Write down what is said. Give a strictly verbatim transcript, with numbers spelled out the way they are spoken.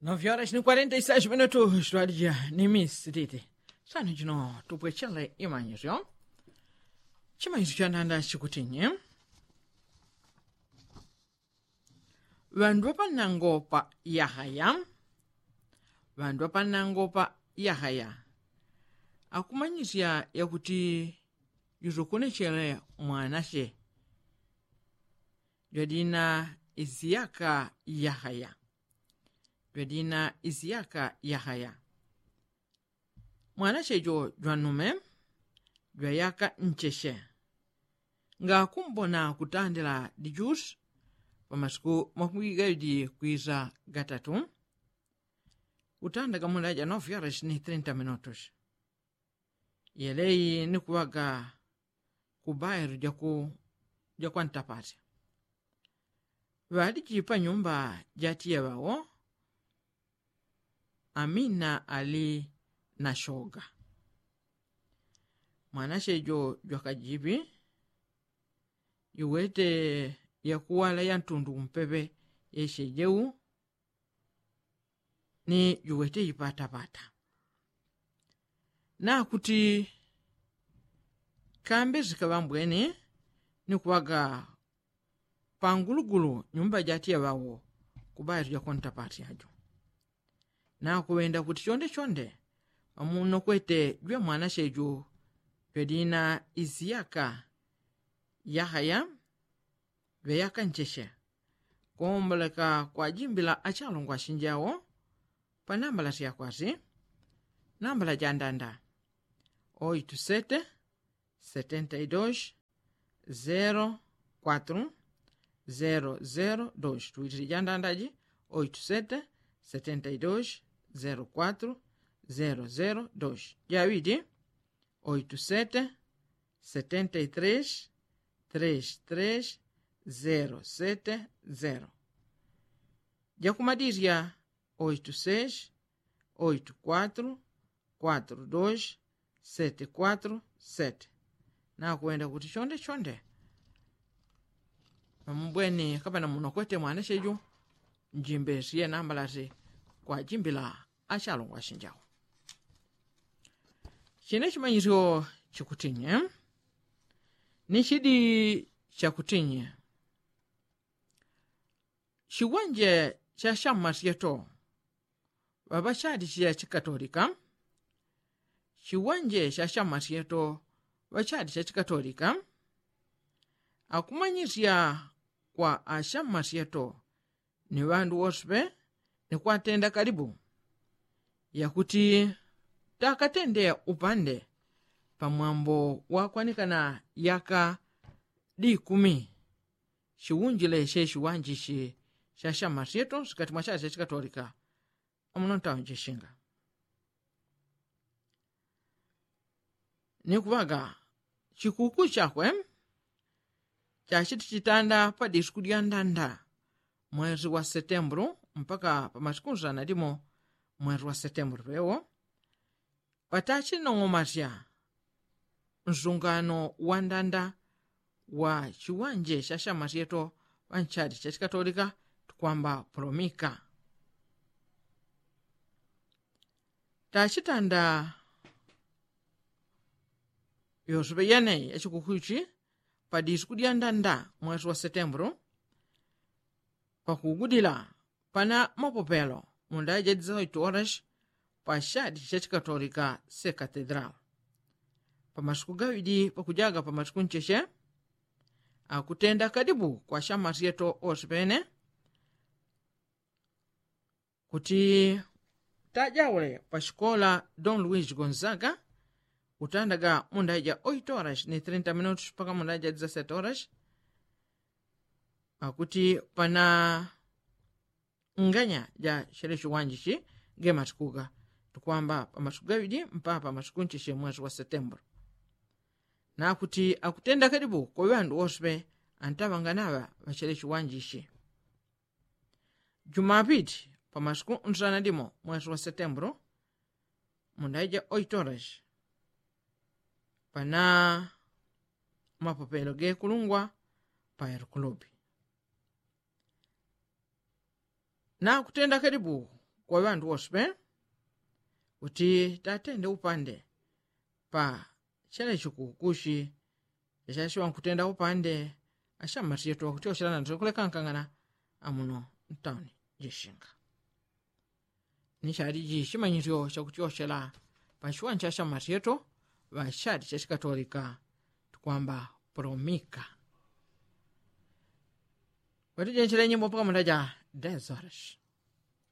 Nove horas ni kwarenta i sais minutu twalija ni misi titi. Sano jino tupwechele imanyisyo. Chimanyisyo chananda chikutinyi? Ŵandu ŵapanango pa yahaya. Ŵandu ŵapanango pa yahaya akumanyisya yakuti yusokonechele mwanache jwadina isiyaka yahaya. Jwadina isiyaka yahaya. Mwanache jo jwanume jwayaka ncheche. Ngakumbona kutandila dijusi pamasiku makumigaidi kwisa gatatu. Utandaga munda ja nove horas ni trinta minutos. Yeleyi ni kuŵaga ku bairo ja kwantapati. Ŵaliji panyumba jatiya ŵawo. Amina ali na shoga. Mwanache jo jwakajiŵi. Juwete yakuwala yantundu kumpeŵe yeshejeu. Ni juwete ipataŵata. Nakuti kambe sikaŵambweni ni kuŵaga pangulugulu nyumba jatiya ŵawo. Kubayo tujakontapati ajo. Nakuŵenda kuti chonde chonde pamunokwete jwe mwanache ju jwedina isiyaka yahaya. Ŵeyaka ncheche. Komboleka kwajimbila achalungwa ashinjawo. Panambala syakwasi. Nambala jandanda oitu sete setenta i dos zero kwatru zero zero dos. Tuwitili jandandaji oitu sete setenta i dos zero kwatru zero zero dos. Jaŵidi oitu sete setenta i tres tres tres zero sete zero. Jakumadisya oitu seis oitu kwatru kwatru dos sete kwatru sete. Nakwenda kuti chonde chonde namumbweni kapana munokwete mwanache ju. Njimbesye nambalati kwajimbila achalungwa ashinjawo. Chine chimanyisyo chikutinye ni chidi chakutinye. Chiwanje cha shamasyeto ŵaŵachadi cha chikatolika. Chiwanje cha shamasyeto ŵachadi cha chikatolika akumanyisya kwa ashamasyeto ni ŵandu wose ŵe ni kwatenda kalibu yakuti takatende upande pamwambo wakwanikana yaka dikumi. Chiwunjile che chiwanjichi cha shamasyeto sikati mwachali cha chikatolika. Amuno ntaunjishinga ni kuŵaga chikuku chakwe chachiti chitanda pa disiku dya ndanda mwezi wa setembulu mpaka pa masiku nsana limo mwezi wa setembulu pewo. Patachinong'omasya nsungano wa ndanda wa chiwanje cha shamasyeto ŵanchali cha chikatolika tukwamba polomika. Tachitanda yoseŵe yeneyi yachikukuchi pa disiku dya ndanda mwezi wa setembulu pakugudila pana mapopelo mundaya jadisa oito horas pa chadi cha chikatolika se katedral. Pa masiku gaŵidi pakujaga pa masiku ncheche akutenda kadibu kwa shamasyeto ose pene kuti tajaule pa shikola don luis gonzaga utandaga mundaya ja oito horas ni trinta minutos paka mundaya ja dezasete horas. Akuti pana nganya ja shele chiwanji chi nge masikuga tukwamba pa masiku gaŵidi mpaka pa masiku ncheche mwezi wa setembro. Nakuti akutenda kadibu kwa ŵandu wose antaŵanganaŵa ŵachele chiwanji chi. Jumapiti pamasiku nsana dimo mwesi wa setembulu mundaija oitorashi pana mapopelo gekulungwa pa elukulubi. Nakutenda kalibu kwa ŵandu wose pe kuti tatende upande pa chele chikukushi. Chachashiŵa nkutenda upande ashamasyetu ŵakutyoshela nandiswe kulekankang'ana amuno ntauni jishinga. Ni chali jishimanyisyo chakutyoshela pashiŵanchi ashamasyetu ŵachali chachikatolika tukwamba pulomika. Watijenchele nyimbo mpaka munda ja desoreshi.